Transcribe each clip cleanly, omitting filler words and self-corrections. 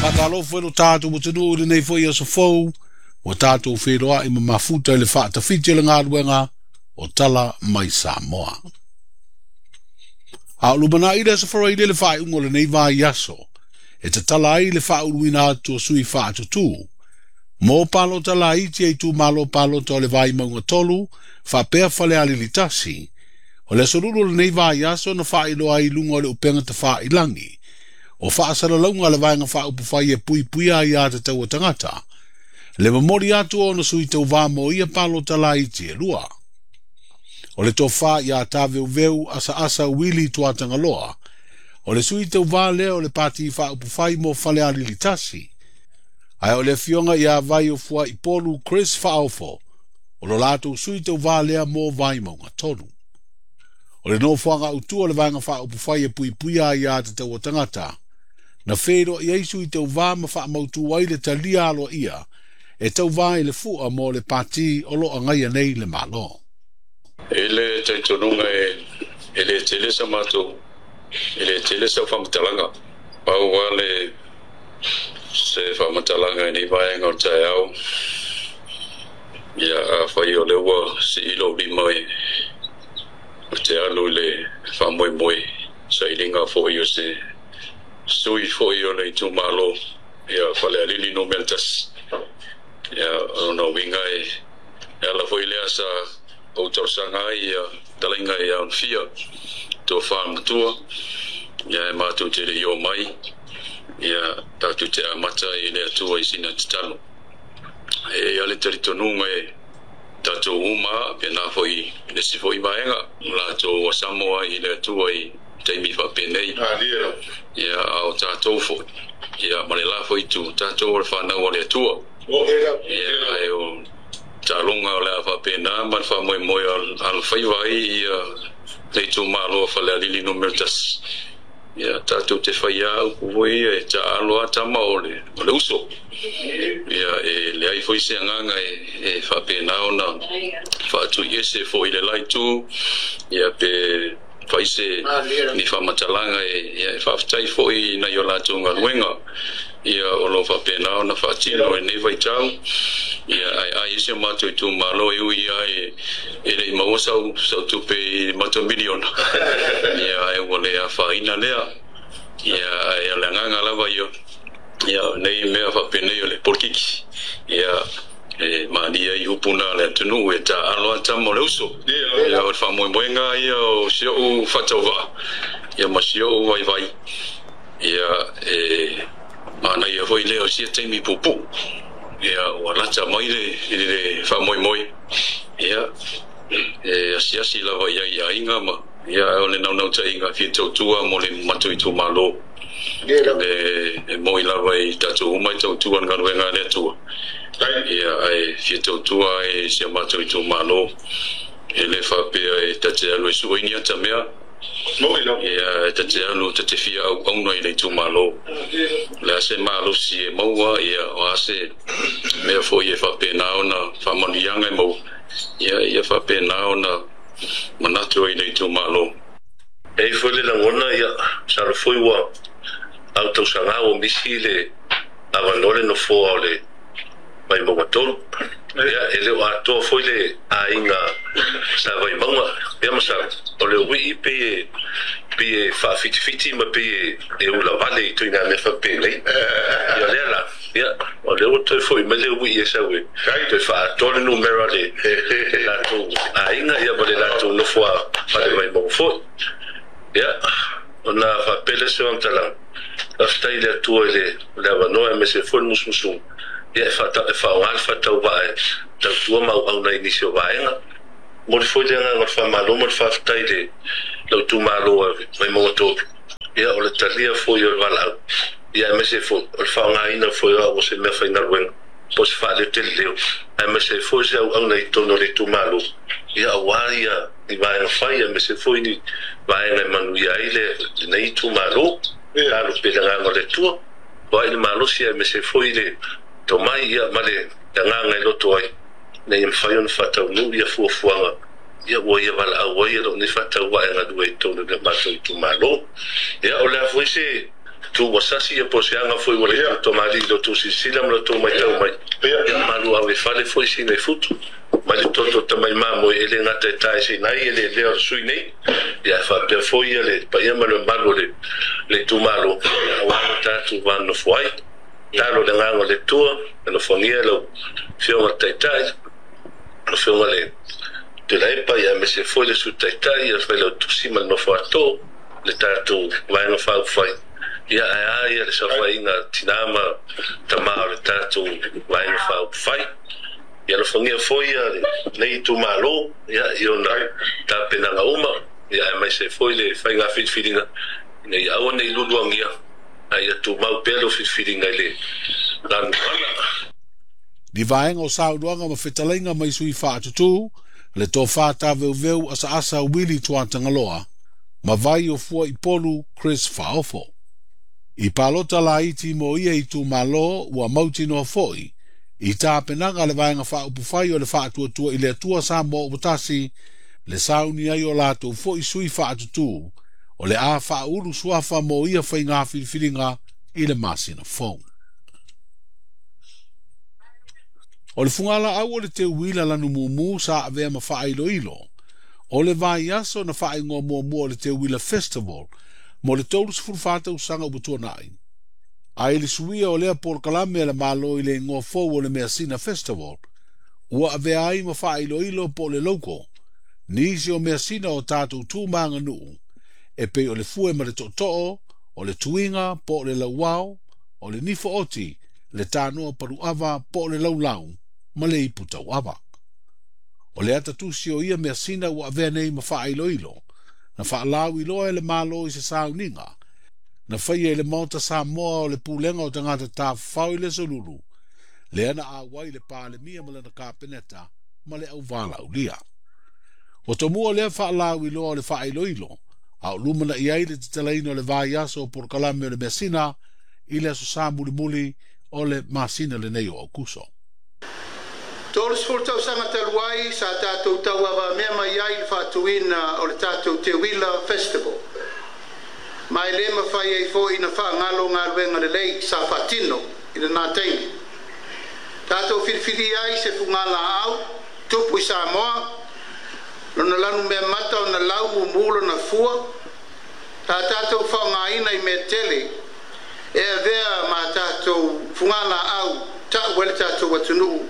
Faatalofa i lo tatou atunuu i lenei foi aso fou, ua tatou feiloai ma mafuta i le faatafiti o le galuega o Tala mai Samoa. A o lumanai le Aso Faraile le faaiuga o lenei vaiaso, e tatala ai le faauluina atu o sui faatutū mo palota laiti a itumalo palota o le Vaimauga 3 faapea Falealili 1. O le aso Lulu o lenei vaiaso na faailoa ai i luga o le upega tafailagi o faasalalauga a le Vaega Faaupufai e Puipuia Aia Tatau a Tagata, le momoli atu o ona sui tauvā mo ia palota laiti e lua. O le tofa ia Taveuveu Asaasa Wili Tuatagaloa, o le sui tauvā lea o le Pati Faaupufai mo Falealili 1, ae o le afioga ia Vaiofuaipolu Chris Faaofo, o lo latou sui tauvā lea mo Vaimauga 3. O le nofoaga autu o le Vaega Faaupufai e Puipuia Aia Tatau a Tagata, na feiloai ai sui tauvā ma faamautu ai le talia aloaia e tauvā i le fua mo le pati o lo agaia nei le Malo. E le talitonuga e le tele sa matou, e le tele sau faamatalaga. Pau lava le se faamatalaga i nei vaega o le taeao. Ia, afai o lea ua sii lou lima e te alu i le faamoemoe, sailiga foi o se sui foi o le itumalo, ia Falealili Nu.1. Ia, o lona uiga e ala foi lea sa ou talosaga ai ia talaiga ia Onofia, tofa matua, ia e matou te le i omai, ia tatou te amata i le Atua i sina tatalo. E i ai le talitonuga e tatou uma, pena foi le isi foi vaega, latou ua samo ai i le Atua i taimi faapenei. Ia, a o tatou foi, ia ma le la foi itu, tatou o le fanau a le Atua. Ia, ae o taloga o le a faapena ma le faamoemoe alofaiva ai ia le itumalo o Falealili Nu.1. Ia, tatou te faia upu foi ia e taalo a tama o le uso. Ia, e leai foi se agaga e faapena ona faatuiese foi le la itu, ia pe fai se ni faamatalaga e faafetai foi nai o latou galuega. Ia, o lo faapena ona faatino i lenei vaitau. Ia, ai ai se matou itumalo e ui ai e le i maua sau tupe i matou miliona. Ia, ai ua le afaina lea. Ia, ai o le agaga lava ia. Ia, nei mea faapenei o le polokiki. Ia, e malia i upu na le atunuu e taalo a tama o le uso. Ia, o le faamoemoega ia o si ou faatauvaa, ia ma si ou vaivai. Ia, e manaia foi lea o sia taimi puupuu. Ia, ua lata mai le faamoemoe. Ia, e asiasi lava i ai i aiga ma, ia, o le naunautaiga fia tautua mo le matou itumalo. E moi lava i tatou uma i tautua le galuega a le Atua. Ia, ae fia tautua ai si a matou itumalo. E le faapea e tate alu e sua i ni ata mea. Ia, e tate alu tate fia auauna i le itumalo. Le a se malosi e maua, ia, o a se mea foi e faapena ona faamanuiaga e maua. Ia, ia faapena ona manatu ai i le itumalo. E foi le lagona, ia, masalo foi ua au tausaga ua misi le avanoa le nofoa o le Vaimauga 3. Ia, e le o atoa foi le aiga sa Vaimauga. Ia, masalo, o le uii pe e faafitifiti ma pe e ulavale i tuiga mea faapenei. Ia, lea la, ia, o lea ua toe foi mai le uii e sau e toe faatoa le numera le latou aiga, ia, ma le latou nofoa fale Vaimauga foi. Ia, ona faapele se faamatalaga, faafetai i le Atua i le avanoa e aemaise foi le musumusuga. Ia, e faaaoga le faatauvaa e tautua ma auauna i nisi o vaega. Momoli foi le agaga o le faamalo ma le faafetai i le lou itumalo e Vaimauga 3. Ia, o le talia foi o le valaau, ia, aemaise foi o le faaaogaina foi o au o se mea faigaluega po o se faaleoteleleo, aemaise foi se auauna i totonu o le itumalo, ia, aua ia i vaega fai, aemaise foi ni vaega e manuia ai lenei itumalo. Talo pe le agaga o le Atua, o ai le malosi, aemaise foi le tomai, ia, ma le agaga e loto ai, ina ia mafai ona faataunuu ia fuafuaga, ia, ua ia valaau ai e lou nei faatauvaa e galue i totonu o le matou itumalo. Ia, o le a foi se tu ua sasi ia po o se aga foi ua le tutomalii i lo outou silasila ma lo outou maitau mai. Ia malu ave fale foi sina i futu mai le toto tamai mamoe e le gata e taeseina ai eleelea o le sui nei, ia ae faapea foi ia le paia ma le mamalu o le le itumalo, ia aua lo tatou va nonofo ai. Talo le agaga o le Atua, alofagia lau Afioga i le Taitai, lau Afioga i le Tuilaepa, ia aemaise foi le Sui Taitai, ia le Failautusi ma le nofo a too, le tatou Vaega Faaupufai, ia ae a ia le saofaiga a tina ma tama o le tatou Vaega Faaupufai. Ia alofagia foi ia lenei itumalo, ia i ona tapenaga uma, ia aemaise foi le faiga filifiliga, ina ia aua ne i luluagia, a ia tumau pea lou filifiliga i le lanuala. Ni vaega o saunoaga ma fetalaiga mai sui faatutū, le tofa taveuveu asaasa Willie Tuatagaloa, ma vai o Fuaipolu Chris Faaofo. I palota laiti mo ia itumalo ua mautinoa foi i tapenaga a le Vaega Faaupufai o le Faatuatua i le Atua Samoa ua Tasi le sauni ai o latou foi sui faatutū o le a faaulu suafa mo ia faiga filifiliga i le masina fou. O le fugalaau o le teuila lanumumu sa avea ma faailoilo o le vaiaso na faaigoa muamua o le Teuila Festival mo le 34 tausaga ua tuanai. A i le suia o lea polokalame a le Malo i le igoa fou o le Measina Festival, ua avea ai ma faailoilo po o le logo nisi o measina o tatou tu ma aganuu e pei o le fue ma le tootoo, o le tuiga po o le lauao, o le nifo oti, le tanoa paluava po o le laulau, ma le ipu tauava. O le ata tusi o ia measina ua avea nei ma faailoilo, na faalauiloa e le Malo i se sauniga, na faia i le Maota Samoa o le Pulega o Tagata Tafafao i le Aso Lulu, lea na auai le Palemia ma lana Kapeneta ma le auvalaulia. Ua tomua lea faalauiloa o le faailoilo, a o lumanai ai le tatalaina o le vaiaso o polokalame o le measina i le Aso Sa mulimuli o le masina lenei o Aokuso. 30 tausaga talu ai sa tatou tauavamea mai ai i le faatuina o le tatou Teuila Festival, ma e le mafai ai foi ona faagalo galuega lelei sa faatino i lena taimi. Tatou filifilia ai se fugalaau tupu i Samoa, lona lanumeamata ona lau mumu lona fua, sa tatou faaaogaina i mea tele e avea ma tatou fugalaau ta'u ai le tatou atunuu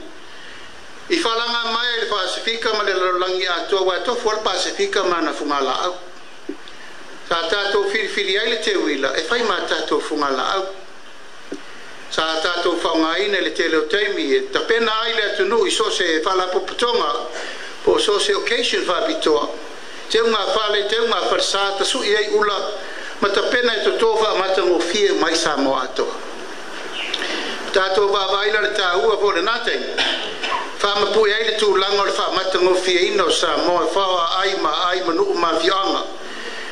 i falaga mai ai le Pasefika ma le lalolagi atoa, aua e tofu lava le Pasefika ma ana fugalaau. Sa tatou filifili ai le teuila e fai ma tatou fugalaau. Sa tatou faaaogaina i le tele o taimi e tapena ai le atunuu i so o se faalapotopotoga po o so o se occasion faapitoa, teuga fale, teuga falesa, tasui ai ula ma tapena e toto faamatagofie mai Samoa atoa. Tatou vaavaai la le taua foi o lena taimi, faamapue ai le tulaga o le faamatagofieina o Samoa e faoa ai ma ai ma nuu ma afioaga,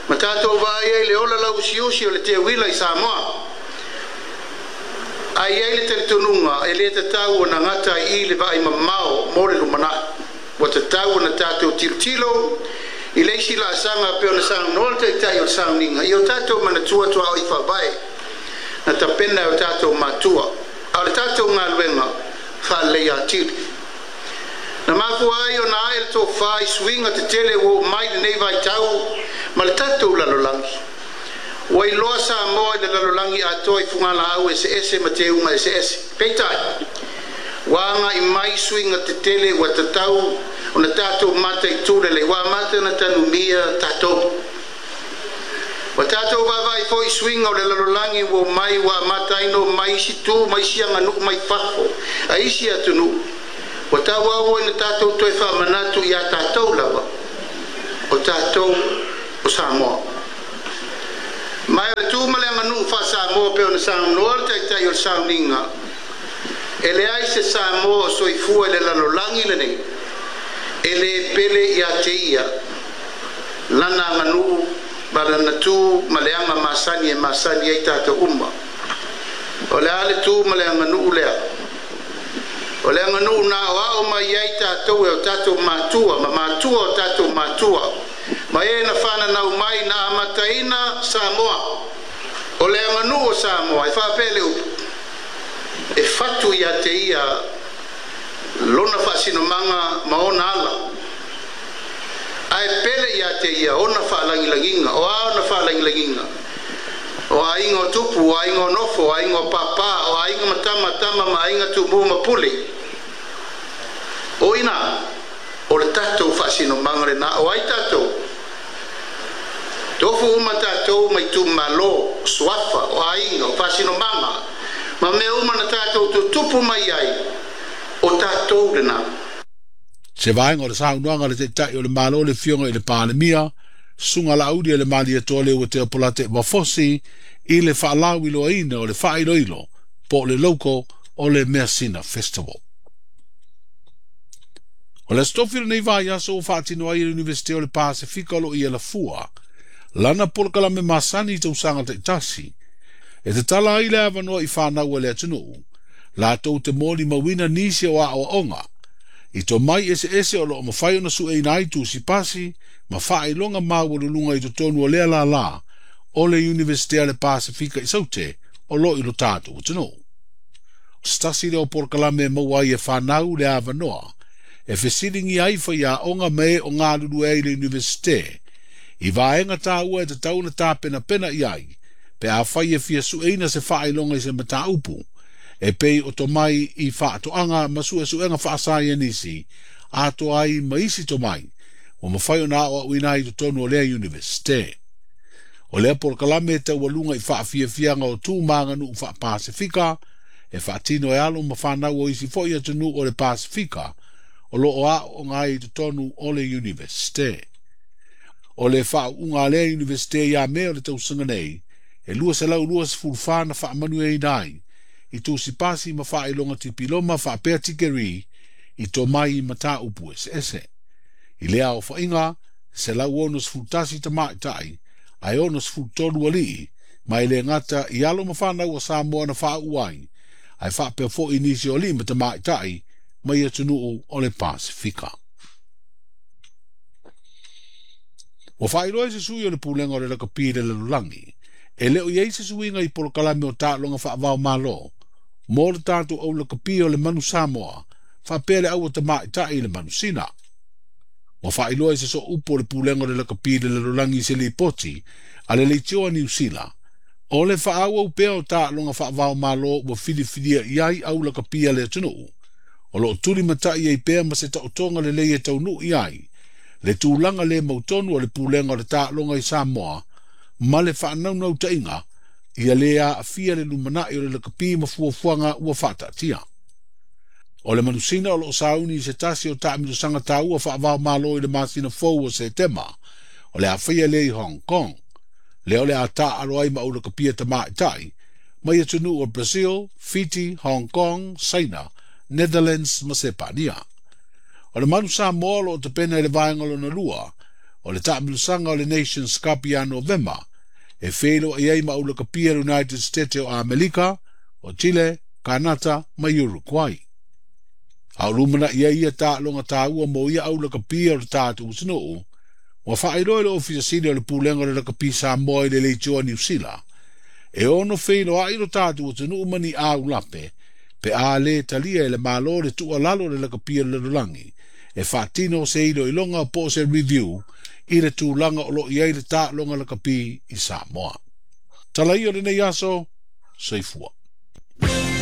ma tatou vaai ai le ola lauusiusi o le teuila i Samoa. Ae i ai le talitonuga e le tatau ona gata ai i le vaai mamao mo le lumanai. Ua tatau ona tatou tilotilo i le isi laasaga pei ona saunoa le Taitai o le sauniga i o tatou manatua tuaoi faavae na tapena e o tatou matua, a o le tatou galuega faaleleia atili. Na mafua ai ona ae le tofa i suiga tetele ua oo mai lenei vaitau ma le tatou lalolagi. Ua iloa Samoa i le lalolagi atoa i fugalaau eseese ma teuga eseese. Peitai, ua agai mai suiga tetele ua tatau ona tatou mataitu lelei, ua amata ona tanumia tatou. Ua tatou vaavaai foi i suiga o le lalolagi ua omai, ua amata ai ona omai isi tu ma isi aganuu mai fafo a isi atunuu. Ua tauau ina tatou toe faamanatu ia tatou lava, o tatou o Samoa. Ma o le tu ma le aganuu faa-Samoa pei ona saunoa le Taitai o le sauniga, e leai se Samoa o soifua i le lalolagi lenei e le pele ia te ia lana aganuu ma lana tu ma le aga masani e masani ai tatou uma. O le a le tu ma le aganuu lea? O le aganuu na aoao mai ai tatou e o tatou matua ma matua o tatou matua ma e na fananau mai na amataina Samoa. O le aganuu o Samoa e faapea le upu, e fatu ia te ia lona faasinomaga ma ona ala, ae pele ia te ia ona faalagilagiga. O a ona faalagilagiga? O aiga o tupu, o aiga o nofo, o aiga o pāpā, o aiga ma tama, tama ma aiga, tumua ma pule. O ina, o le tatou faasinomaga lenā. O ai tatou? Tofu uma tatou mai itumalo, o suafa, o aiga, o faasinomaga, ma mea uma na tatou tutupu mai ai, o tatou lenā. Se vaega o le saunoaga a le Taitai o le Malo le Afioga i le Palemia, Susuga Laaulialemalietoa Leuatea Polataivao Fosi i le faalauiloaina o le faailoilo po o le logo o le Measina Festival. O le Aso Tofi o lenei vaiaso ua faatino ai e le Iunivesite o le Pasefika o lo o i Alafua lana polokalame masani i tausaga taitasi e tatala ai le avanoa i fanau a le atunuu latou te molimauina nisi o aoaoga i tomai eseese o lo o mafai ona sueina ai tusi pasi ma faailoga maualuluga i totonu o lea lālā o le Iunivesite a le Pasefika i Saute o lo o i lo tatou atunuu. O se tasi lea o polokalame e maua ai e fanau le avanoa e fesiligia ai faiaoga ma e o galulue ai i le Iunivesite i vaega taua e tatau ona tapenapena i ai pe afai e fia sueina se faailoga i se mataupu e pei o tomai i faatoaga ma suesuega faasaienisi atoa ai ma isi tomai ua mafai ona aoaoina ai i totonu o lea Iunivesite. O lea polokalame e taualuga i faafiafiaga o tu ma aganuu faa-Pasefika e faatino e alo ma fanau o isi foi atunuu o le Pasefika o lo o aooga ai i totonu o le Iunivesite. O le faauuga a lea Iunivesite ia Me o le tausaga nei, e 224 na faamanuiaina ai i tusi pasi ma faailoga tipiloma faapea tikeri i tomai i mataupu eseese. I lea aofaiga, 161 tamaitai ae 63 alii, ma e le gata i alo ma fanau a Samoa na faauu ai, ae faapea foi nisi o alii ma tamaitai mai atunuu o le Pasefika. Ua faailoa e se sui o le Pulega o le Lakapi i le Lalolagi, e le o i ai se suiga i polokalame o taaloga faava-o-Malo mo le tatou au lakapi o le Manu Samoa faapea le aua tamaitai i le Manu Sina. Ua faailoa e se sooupu o le Pulega o le Lakapi i le Lalolagi i se lipoti a le Leitio a Niu Sila, o le faaauau pea o taaloga faava-o-Malo ua filifilia i ai au lakapi a le atunuu, o lo o tulimatai ai pea ma se taotoga lelei e taunuu i ai le tulaga le mautonu o le pulega o le taaloga i Samoa ma le faanaunautaiga ia le aafia le lumanai o le lakapi ma fuafuaga ua faataatia. O le manusina o lo o sauni i se tasi o taamilosaga taua faava-o-Malo i le masina fou o Setema, o le a faia lea i Hong Kong, lea o le a taaalo ai ma aulakapia tamaitai mai atunuu o Brazil, Fiti, Hong Kong, Saina, Netherlands ma Sepania. O le Manu Samoa o lo o tapena i le vaega lona lua o le taamilosaga o le Nations Cup ia Novema, e feiloai ai ma aulakapia le United States o Amerika, o Chile, Kanata ma Uruguay. A o lumanai ai ia taaloga taua mo ia aulakapia o le tatou atunuu, ua faailoa e le Ofisa Sili o le Pulega o le Lakapi Samoa i le Leitio a Niu Sila, e ono feiloai lo tatou atunuu ma ni aulape pe a le talia e le Malo le tuualalo o le Lakapi o le Lalolagi e faatino se iloiloga po o se review i le tulaga o lo o i ai le taaloga lakapi i Samoa. Tala ia o lenei aso, soifua.